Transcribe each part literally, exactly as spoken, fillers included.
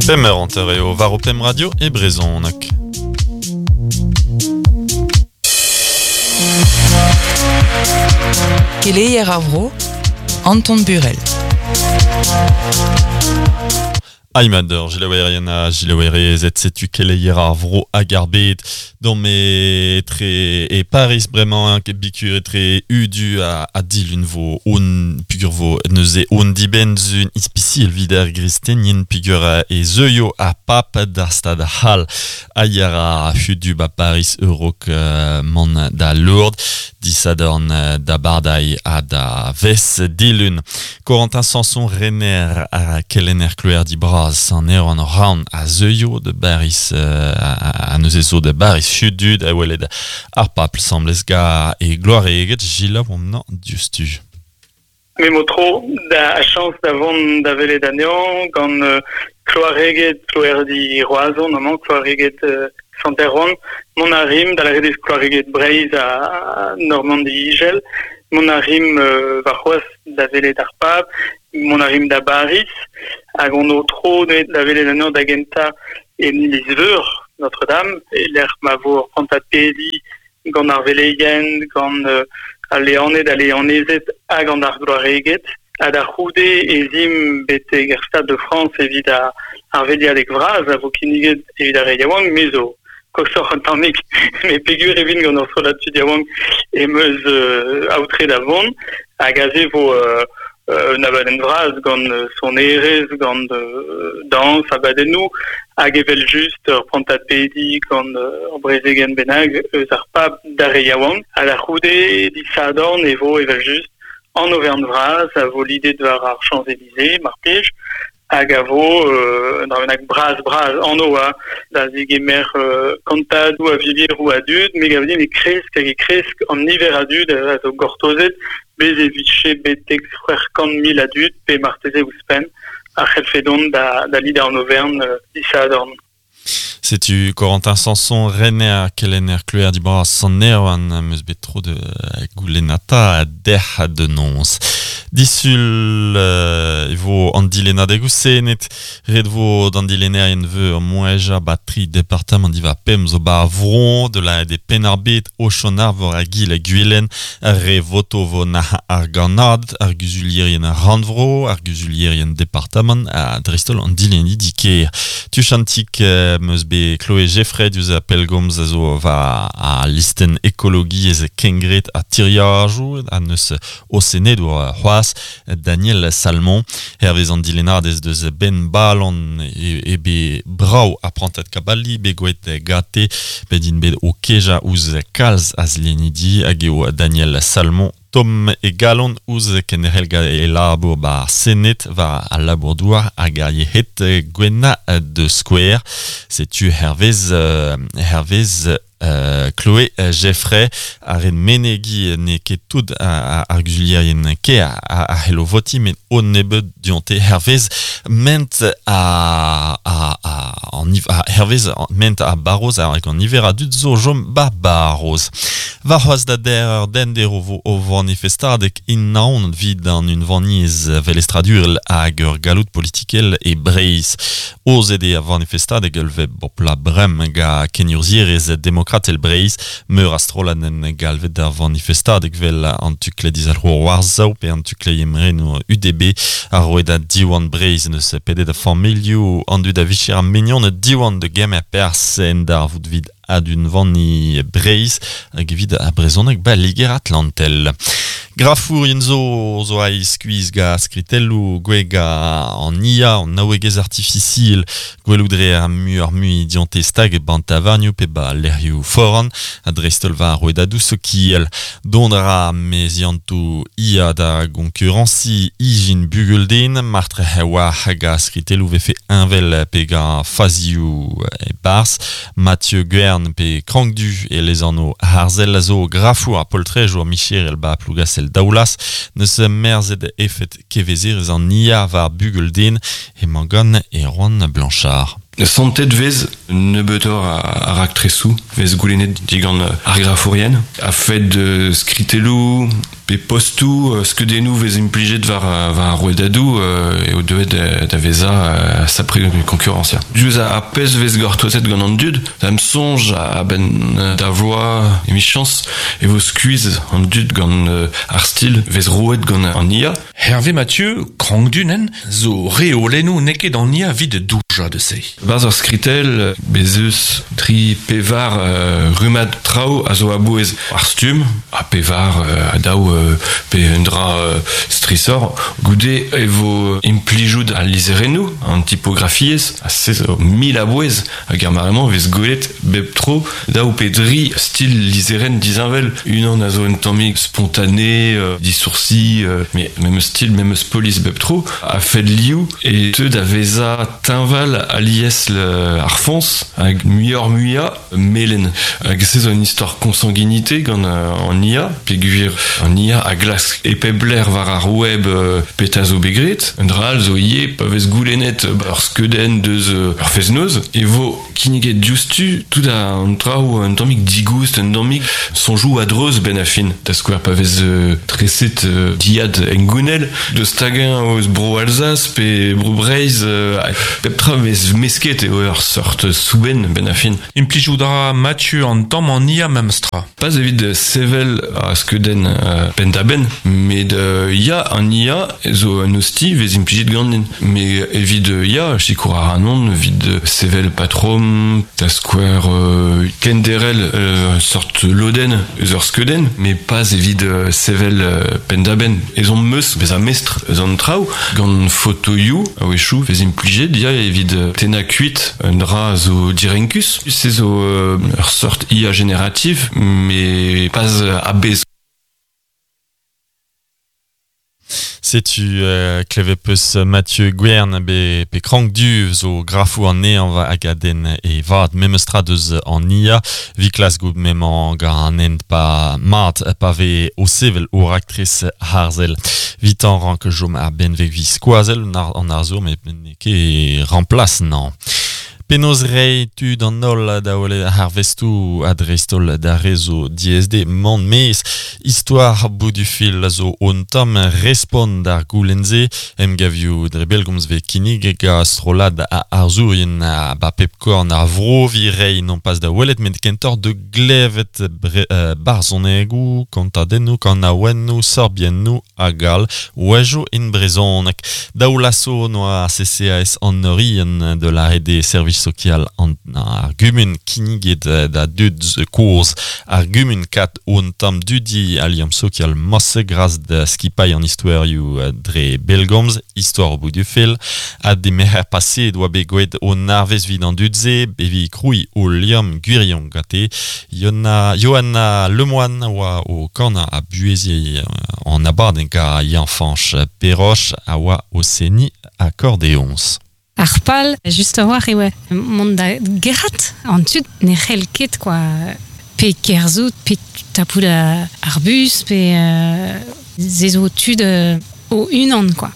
Pemp eur hanter eo war ho pemp radio e brezhoneg. Keleier ar vro, Anton Burel. Aimader, Gilles a Gilles et setu keleier ar vro hag ar bed dont me tre e Paris bremañ bikur etre udu a, a dilun vo on pugur vo neuze on dibenn zun ispiciel vid ar gristenien pugur e zeuio a pap d'ar stad hal aier a hudu ba Paris Eurok uh, man da Lourdes disadorn da Bardai a da Ves dilun. Corentin Sanson Renner a Kelenner Kloer di Braz an Erwan Raun a zeuio de Baris uh, a, a neuze zo de Baris hudud a welet ar papl semblez ga e gloare eget gila omnañ diustu. Me mo tro da chance d'avon da velet anezhañ gant uh, kloareget kloerdi Roazhon amañ kloareget uh, Sant-Erwan, mont a rim da la redez kloareget Breizh a Normandi Igel, mont a rim uh, war c'hoazh da velet ar pab, mont a rim da Baris, hag on o tro da velet anezhañ da gentañ en iliz-veur Notre-Dame, e lec'h ma vo ur prantad pedi gant ar veleien, gant uh, al leaned, al leanezed hag an ar gloareged. Ha da c'houde ez im betek er Stade de France evit ar, ar veliadeg vras a vo kinniget evit ar re yaouank, me zo kosoc'h an tammig, me pegur evin gant ur strollad tud yaouank em eus euh, aotre da vont, hag aze vo euh, un abadenn vras gant sonerezh, gant euh, dañs, abadennoù, hag evel just ur prantad pedi gant ur brezegenn bennak eus ar pab d'ar re yaouank. Ha da c'houde disadorn e vo evel just an overn vras a vo lidet war ar Champs-Élysées, mar plij, hag a vo euh, un dra bennak bras bras an oa da zigemer euh, kantadoù a vilieroù a dud, me gav din e kresk hag e kresk an niver a dud a zo gortozet, bez e vije betek c'hwec'h kant mil a dud, pe marteze ouzhpenn, a c'hellfe dont da, da lid an overn euh, disadorn. Setu Corentin Sanson, Renner, Kelenner, Kloer di Braz, Sant Erwan, meus bet tro de goulenata derc'h de nons. Disul euh, e vo an dilennadeg senet, ret vo d'an dilennerien veur moeja ba tri departamant diva pemp zo ba vron de la de Penarbet, Ochonar vor a gil a Gwilen, re voto vo na ar ganad, ar guzulierien rannvro, ar guzulierien departamant, a dreistol an dilenni diker. Tuchantik euh, meus bet Chloé Jeffrey diouzh a pellgomz a zo va a listen ekologiezh kengret a tiriajoù a neus o sened oa c'hoazh Daniel Salmon hervez an dilennadez deus Ben Ballon e, e be brav a prantat kabali be goet gate bet int bet o keja ouzh kalz a zlennidi hag eo Daniel Salmon Tom e galon ouzh kenderc'hel ga e labour ba senet war al labour douar hag ar yec'hed gwenna de Square. Setu hervez euh, hervez Euh, Chloé Jeffrey ar en menegi ne ket tout ar guzulierien ke a, a, a hello voti met o nebeud dionte hervez ment a, a, a, an, a hervez ment a baroz hag an niver a dud zo jom ba baroz. War c'hoazh da der den dero vo o vanifestadeg in naon vid an unvaniezh velestradurel hag ur galloud politikel e Breizh. Ozet eo a vanifestadeg ul veb bopla brem ga kenurzhierez demokratel Breizh, meur a strollad en galvet d'ar vanifestadeg vel an tukle dizalc'hour war-sav pe an tukle emrenoù U D B a roet da Diwan Breizh neus pedet a familhoù an dud a vicher a mignon Diwan de gemer perzh en d'ar vout vid ad unvani Breizh hag evit a brezhoneg ba Liger Atlantel. Grafourien zo zo a skuizh ga skritelloù gwega an I A, an naouegezh artificiel, gwelout dre ar mu ar mui dionte stag e ban tavarnioù pe ba lec'hioù foran, a dreistol war rouedadoù sokial. Dont ra meziantoù I A da gonkuransi ijin bugel-den, martre war hag a skritelloù vefe envel pe ga fazioù e barz, Mathieu Guern pe Krankdu e lezanno Harzel a zo grafour a poltrejour Michel ba Plougastel Daoulas neus merzet efet kevezerez an I A war bugel-den e mangan e Erwan Blanchard. Santet vez nebeutoc'h a, a raktresoù, vez goulennet digant ar grafourien, a fed skritelloù, pe postou euh, skeudennoù vez implijet war, war ar rouedadou euh, eo deuet da, da veza euh, sapre konkurrence. Diouzh a pezh vez gortozet gant an dud, da am soñj a ben da vloa emichañs e vo skuizh an dud gant euh, ar stil vez roet gant an I A. Hervé Mathieu, krangdunen, zo reolennoù n'eo ket an I A vid douja de se. Barzh ur skritel, bezeus tri pevar euh, rumad traoù a zo a-bouez ar stumm, a pevar euh, a daou euh, pe un dra euh, strisor, goude e vo implijout al lizherennoù, an tipografiez, a se zo mil a-bouez, hag ar maremañ vez gwelet bep tro daou pe dri stil lizherenn disheñvel, unan a zo un tammig spontané, euh, disourci, euh, mais même style, même polis bep tro, a fait liou e teu da veza teñval alies le ar foñs hag muioc'h muia melen. Hag se zo un istor consanguinité gant euh, an I A, peogwir an I A a glask e pep lec'h war ar web euh, petra zo bet graet, un dra all zo ivez pa vez goulennet ur skeudenn deus euh, ur fest-noz, e vo kinniget diouzhtu tout an traoù un tammig digoust, un tammig soñjoù a-dreuz ben a fin. Da skouer pa vez euh, treset euh, diad engounel, deus tagañ eus bro Alsace pe bro Breizh, euh, pep tra vez mesket eo ur sort soubenn ben a fin. Implijout a ra Mathieu an tamm an I A memestra. Pas evit sevel a skeudenn euh, penn-da-benn, met euh, ya an I A zo un osti vez implijet ganin. Mais evit euh, ya, sikour ar anon, evit sevel patrom, da skouer euh, kenderel euh, sort lodenn eus ur skeudenn, mais pas evit euh, sevel euh, penn-da-benn. Ez on meus, bez a mestr eus an traoù, gant fotoioù a-wechoù vez implijet, ya evit euh, tenna kuit un dra zo direnkus. Se zo euh, ur sort I A générative, mais pas euh, a-bezh. Setu euh, klevepeus Mathieu Gwern be, pe krank du zo grafou an neañ hag a den e vat memestra deus an I A vi klas gout memañ gant an hent pa mat pa ve o sevel o raktres harzel. Vitan rank jom ar benveg vi skoazel an arzour met n'eo ket remplace nan. Penaos rei tud an holl da wele ar vestoù a dreist-holl da rezo D S D mont mez. Histoire bout du fil zo on tamm respont d'ar goulenn-se emgavioù dre bellgomz ve kinnig ga strollad a arzourien a ba pep korn ar vro vi rei non pas da welet met kentoc'h de glevet bre, euh, barzhonegoù, kontadennoù, kanaouennoù, sorbiennoù hag all wejo in brezhoneg. Daou laso noa C C A S an Orient de la R D service social an ar gumun kinniget da dud kozh ar gumun kat on tamm dudi aliam sokial mosse gras da skipailh an istoerioù dre bellgomz, histoire au bout du fil, a de meher passé doa bet gwelet on arvez vid an dud-se, bevi kroui o liam gwirion gate, Yona, Johanna Lemoine oa o korn a buezi an abadenn ga Yann-Fañch Perroche a oa o seni accordéons. Ar pal, just a war eo mont da gerc'hat an tud ne c'hell ket quoi. Pe kerzout, pe tapout ar bus, pe euh, ze zo tud euh, o unan quoi.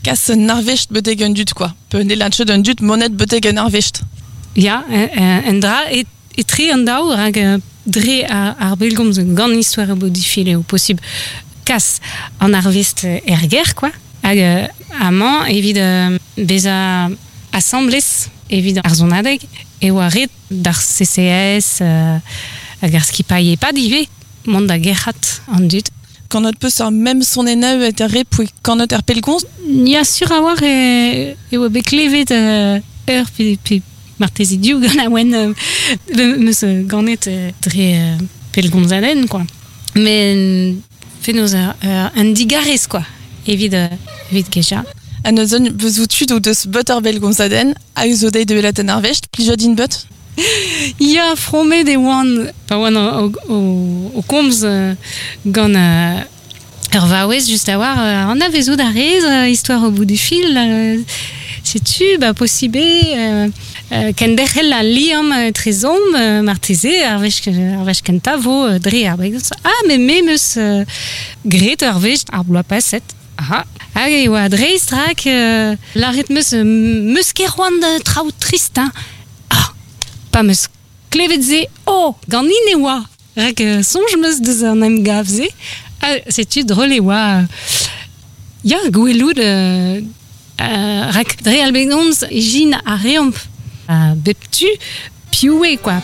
Kas un arvest betek un dud quoi. Pe ne lantchet un dud monet betek un arvest. Ya, un dra e, etre an daou rak dre ar, ar bellgomz gant histoire bo difile eo posib kas an arvest er ger quoi. Hag euh, amañ evit euh, beza asamblez evit ar zonadeg e oa ret d'ar C C S euh, hag ar skipailh epad ivez mont da gerc'hat an dud. Kanot peus ar mem sonennaù et ar re poe kanot ar pellgomz? Ya sur a war e, e oa bet klevet euh, ur pe, pe marteze div gant a-oen euh, meus ganet euh, dre euh, pellgomzadenn quoi. Mais fenoz ur, un digarez quoi. Evit, euh, evit keja. A neuzen beus tud o deus beut ar bellgomzadenn hag zo deiz de welet an arvest, plijout din beut? Ya, fromet e oan, pa oan o, o, o komz euh, gant euh, ur vaouez just a war, euh, an avezout a rez, euh, histoire au bout du fil, euh, setu, ba possibe, euh, euh, kenderc'hel a liamm euh, trezomp, euh, marteze, ar wech, ar wech kentañ vo euh, dre ar bellgomz. Ah, mais me meus euh, graet ur wech ar bloaz paset. Aha. Hag e oa dreist rak euh, laret meus euh, meus ket c'hoant da traoù trist, hein. Ah, pa meus klevet se, oh, ganin e oa. Rak euh, soñj meus deus an emgav-se, Ah, setu drôle e oa... Ya, gwelout... Euh, euh, rak dre al begomz ijin a reomp a bep tu piv eo, quoi.